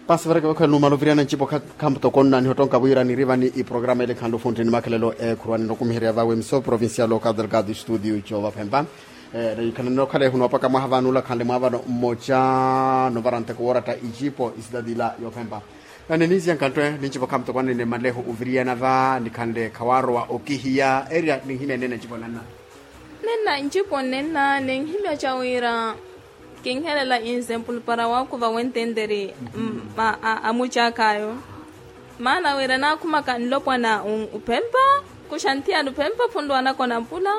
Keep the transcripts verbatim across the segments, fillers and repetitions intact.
Paasi varekevo khale numala oviriyana ncipo khamutoko nnaniha ottonka wira nirivani iprograma ele khanle ofunti ni makhelelo ekhurwani nokumiherya vawe miso provincial okadelgado studio coova phempa. Nikhanle nokhale ehunopaka mwaha vanula khanle mwaavano mmoca novara nteko wooratta icipo isitati ila yoophempa. Nani ninsiya nkhanttwe nincipo khamutoko anene maleho oviriyana va nikhanle khawaarowa okihiya erya ninhimya nene ncipo nanna. Nenna ncipo nenna ninhimya ca wira kinhelela inzempulu para waakuva wententeri amucakaayo. Maana wira naakhumaka nlopwana uphempa kuxa nthiyani uphempa phunrwa anakona mpula.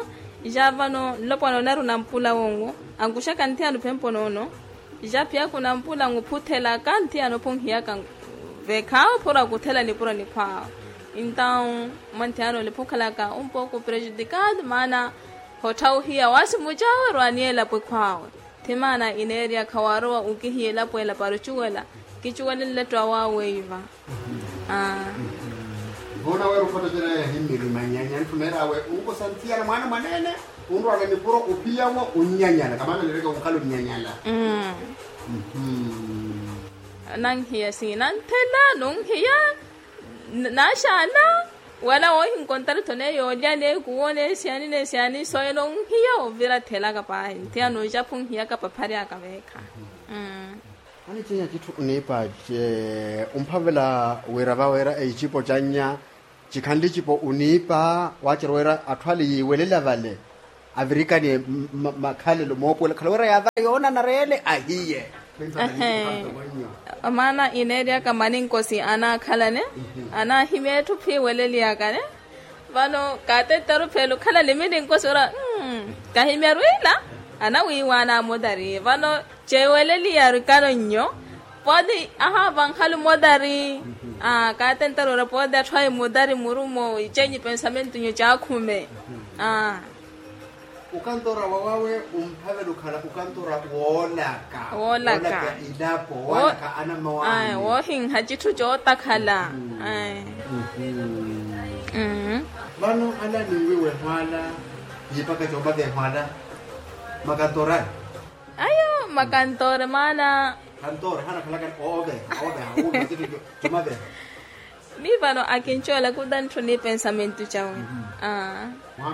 Ja vano nlopwana onari unampula wonwo ankuxaka nthiyani uphempa onoono. Ja phiya kunampula nkuphuthelaka nthiyani ophunhiyaka vekhaawe phura kuthela nipuro nikhwaawe. Entaw mwanthiyani ole phukhalaka umpoku prejudikado maana hottha ohiya waasi mucaawe rwaani elapo ekhwaawe. Thimaana ineerya khawaarowa okihiya elapo ela para ocuwela kicuwele nletto awaawe iva. Voona weera ofotocerya yahimmiri manyanya nthuneeryawe unkosa nthiyana mwaana mwaneene unrwaaka nipuro ophiyawo onnyanyala kamaana nireke onkhala onnyanyala. Nanhiya siina nthela nunhiya naaxaana wala woohinkontari tho neyo olya neekuwo nesiyani nesiyani soyela onhiya ovira thelaka paahi nthiyana oxaphu onhiyaka papharyaka veekha. Aniceenya citthu oniipa ce omphavela wira vaweera ecipo cannya cikhanle icipo oniipa waacerya wira atthu ale yiiwelela vale avirikaniye makhalelo moopuwela khala wira yaavara yoonanara ele ahiye. Maana ineeryaka maninkosi anaakhalane anaahimya etthu phiiweleliyakane. Vano kaatettaru phela okhala limilinkosi ora kahimyaru ila anawiiwaana amotari vano ceeweleliyaru ikano nnyo. Pooti ahaava nkhalu motari. Kaatettaru ora pooti atthu ayi motari murumo iceenyi pensamentu nnyo caakhume. Okantora wawawe omphavela okhala okantora woolaka woolaka ilapo woolaka anamma waani woohinha citthu cootakhala. Vano ala ninwiiwa ehwaala yiipaka coomaka ehwaala makantora ayo makantora maana kantora hanakhalaka ooveha ooveha wuuva citthu comaveha. Mi vano akincuwela kuta ntthu ni pensamentu cawe.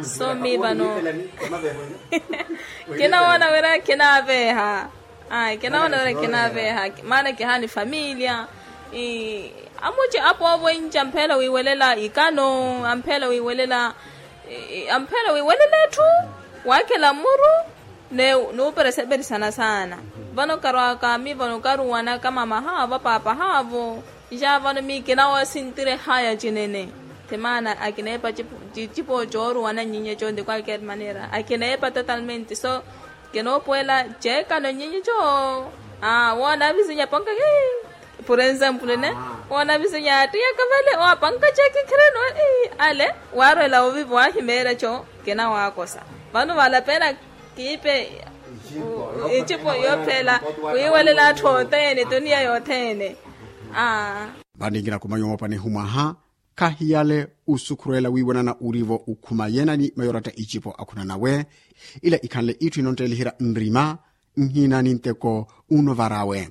So mi vano kinawoona wira kinaaveeha. Kinawoona wira kinaaveeha maana kihaani familia. Amuci apoovo enci ampheela wiiwelela ikano ampheela wiiwelela ampheela wiiwelela etthu waakhela mmuru. Nuupereseperisana saana vano karwaaka mi vano karuwanaka mama haavo paapa haavo. Nxa vano mi kinawoosintire haya cinene. Thimaana akineepa icipo cooruwana nnyinyeco de qualquer maneira akineepa totalmente so kinoopuwela ceekano nnyinyeco. Woona avizinye apanka por enzemplo ne woona avizinye aattiyaka vale owo apanka ceekikhereni ale waarwela ovivo ahimeerya co kinawaakosa. Vano valapena kiipe icipo yoophela wiiwelela atthu othene tuniya yothene. Vano inkinakumanya omoopanihu mwaha khahiyale osukhurwela wiiwanana orivo okhuma yeenani mayooratta icipo akhunanawe. Ila ikhanle itthu inontteeliherya nrima nhina ninteko unovarawe.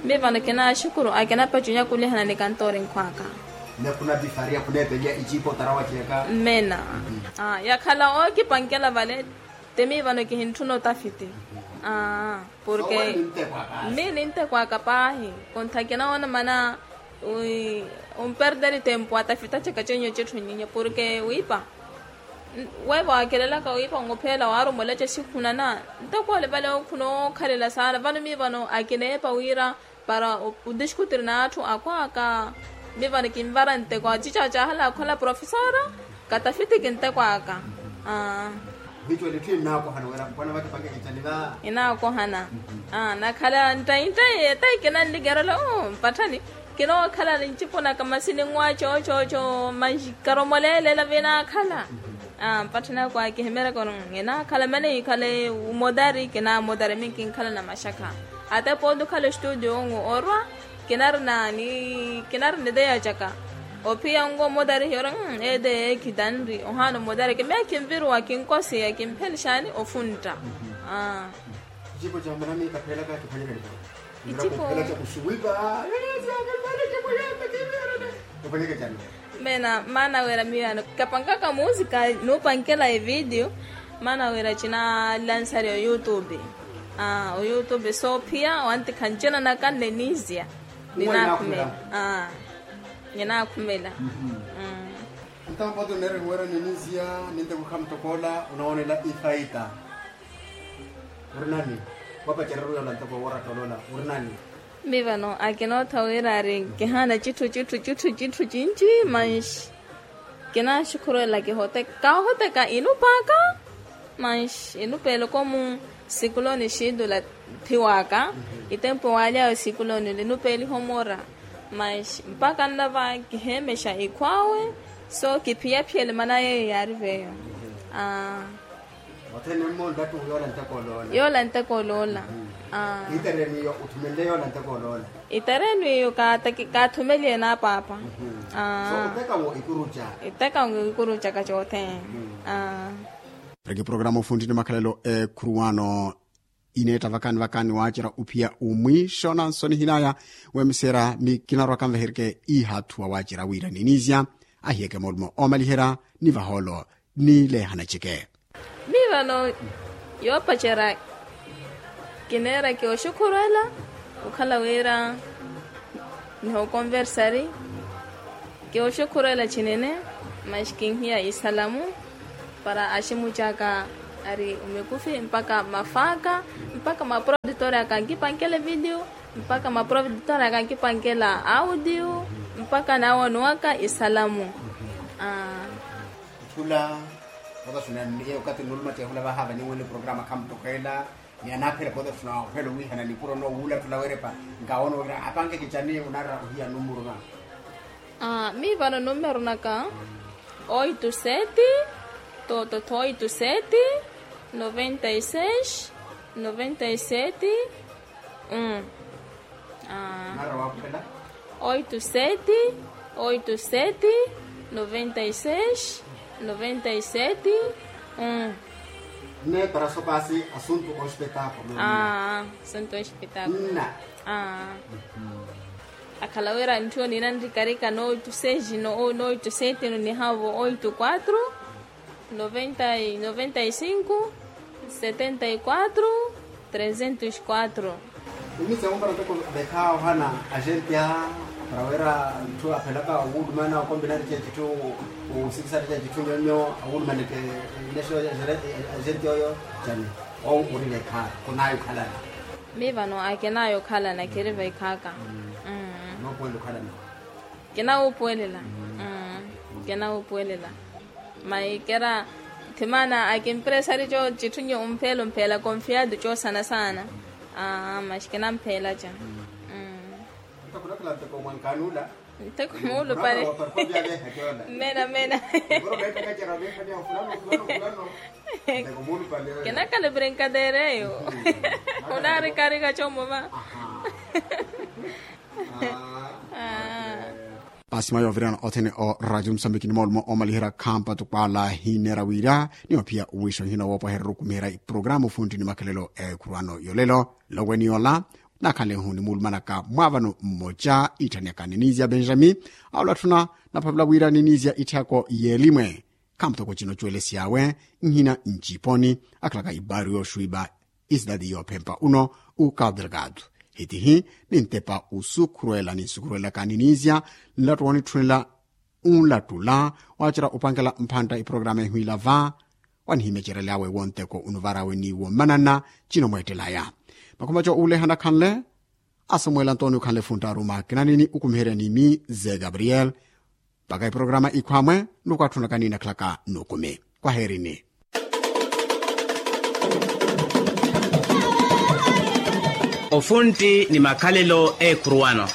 Mi vano kinaxukuru akinapacunya kulihana ni kantoori nkhwaka. Nakunapifariya kuneepeliya icipo otarawa ciyaka. Mmena yakhala ookipankela vale. Ti mi vano kihintthuna otafiti. Porke mi nintekwaka paahi. Kontha kinawoona mana wi omperderi tempu atafita caka cenyo cetthu nyinyi porke wiipa. Weeva waakelelaka wiipa ongophela waarumola casikhunana ntakwale vale okhuna ookhalela saana vano mi vano akineepa wira para odiskutir n'atthu akhwaka. Mi vano kinvara nteko acica caahala akhola profesora katafiti kinteko aka. Vicuwela itthu inaakohana wira mpwana vakipakekicani va inaakohana. Nakhala nttayi nttayi etayi kinannikerela mpatthani kinookhala ncipo naka masi ninwa coocooco manji karomoleelela vinaakhala. Mpatthani ako akihimeryaka ori ninaakhala mene ikhale omotari kinaamotari mi kinkhala na maxakha. Ate pooti okhala ostudio onwo orwa kinarina ni kinarina ideya caka. Ophiya onwo omotari hiyo ori edeya ekhitanri ohaana omotari kimya kinviruwa kinkosiya kimphelexani ofuntta. Icipo ca mwanamika pheelaka kiphwanyekani paka Mena maana wira miyo ano kapankaka musika nupankela evidiyo. Maana wira cina lansari oyutubi. Oyutubi soophiya wantikha ncina naka nninizya. Ninakhumela. Ninakhumela. Ntampoto neeri wira niniziya ninteko khamutokoola onawoonela ifaita. Ori nani? Wapacererya ola nteko wooratta olola ori nani? Mivano akinootha wira ari kihaana citthu citthu citthu citthu cinci. Manxi kinaaxukhuruwela kihoteka kaahoteka inupaaka. Manxi inupeela okomu sikuloni xiitula thiwaka. Itempu waalyawe sikuloni linupeeliha omora. Manxi mpaka nnava kiheemexa ikhw'awe. So kiphiyaphiyele mana yeeyo yaari veeyo. Aa. Othene mmo nlattuhu yoola nteko oloola. Yoola nteko oloola. Aa. Itereenu iyo othumenle yoola nteko oloola. Itereenu iyo kaathumeliye n'apaapa. Aa. So otekawo ikuruca. Itekawo ikurucaka cothene. Aa. Pariki programa ofuntti ni makhalelo eekhuruwano. Ineetta vakani vakani waacerya ophiya omwiixo nansonihin'aya. Weemiseera mi kinarwa kanveherike ihathuwa waacerya wira niniizya ahiyeke moolumo oomaliherya ni vahoolo. Nileehana eceke. Miyo vano yoopacerya kineera kioxukhurwela okhala wira nihookonversari. Kioxukhurwela cinene. Maxi kinhiya isalamu para aximucaka ari omikufi mpaka mafaaka mpaka maprodutor aka ankipankela evidiyo mpaka maprodutor aka ankipankela audiyo mpaka naawonowaka isalamu. Aa. Khula. Potasuna niye okathi nuluma tihula vahaava ninwele programa khamutokeela. Ni anaaphela potasuna ophela owiihana nipuro nowuula tula werepa. Nkawono wira apanke kicani onara ohiya numuru na. Aa mi vano numero naka oito sete. Toto oito sete noventa e seis noventa e sete. Aa. Oito sete oito sete noventa e seis noventa e sete. Nne para sopasi asuntu ospetakulo. Aa asuntu ospetakulo. Nna. Aa. Akhala wira ntthu ninanrikarika no oito seis no oito sete no nihavo oito quatro. Noventa e noventa e cinco setenta e quatro trezentos quatro. Imitse mumpara toko vekha ohana agente a para wira ntthu aphelaka owulumana okombinari cecitthu. Osikisari cecitthu nyonyo awulumaneke. Nesho agente oyo cani. Owu uri vekha. Kunayo khalana. Mi vano akenayo khalana kiri vekhaka. Nopuwela okhalana. Kinawuupuwelela. Kinawuupuwelela. Maikera thimana akimpresari co citthu nyo omphela omphela confiado cosana sana. Aa maxi kinamphela ca. Ntteko muulupale. Mena mena. Kinakhala brinkadeira eyo. Onarikarika comova. Pasimaya ovirana othene o radio musambiki ni moolumo omaliherya khampa tukwala hineera wira ni ophiya owiixo hina woopwaherya orukumiherya iprograma ofuntti ni makhalelo ekhurwano yolelo. Loweni yola nakhanle ehu ni muulumanaka mwaavano mmoca iitthani aka ninizi ya benjami. Awo latthuna naphavela wira ninizi ya itthako yeelimwe. Khamuthoko cino cuwelesyawe nhina nciponi akhalaka ibaari yooxwiipa. Isidadi yoophempa uno ukadelgado hitihi nintepa usukhurwela ninsukhurwelaka niniizya nlattu woonitthunela. Unlattula waacerya upankela mphantta iprograma ehwiila va wanihimecerelyawe wonteko unuvarawe ni womanana. Cino mweettelaya makhuma co uulehana khanle. Asamuwela antonio khanle funtta aruma kinanini ukumiherya ni mi ze gabriel. Mpakha iprograma ikhwamwe nukwatthunaka ni nakhalaka nukumi. Kwaheerini. Ofuntti ni makhalelo eekhuruwano.